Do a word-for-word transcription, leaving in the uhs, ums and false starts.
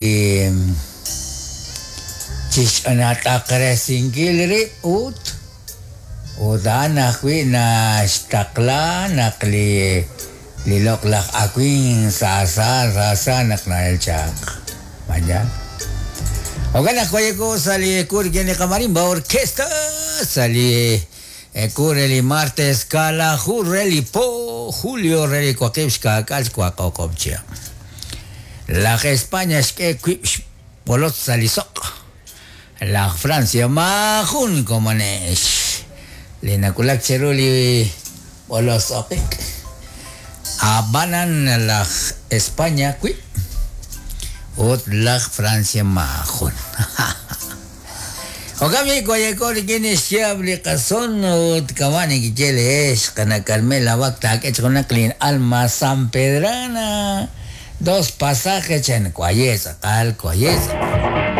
Chixch'anat'aqresinkil rib' ut ut a'an ajwi' naxtaqla naq li li loq'laj awin saasa saasa naq na'el chaq. Mañana. Jo'kan naq wayeko sa' li kur rik'in li qamarimba orquesta sa' li kur re li martes kaalaju re li po julio re li waqib' xkaak'al xwaqoqob' chihab'. Laj España xk'e wib' xb'olotz sa' li soq'. Laj Francia maajun komonex li nawulak chiru li b'olotz oqik. Ab'anan laj España wib' ut laj Francia maajun. Jo'kan b'i' wayeko rik'in xyaab' li qason ut kama' nekiye leex qana' Carmela Bak taak'e chi junaq li alma San Pedrana. Dos pasajes chan waye tz'aqal waye tz'aqal.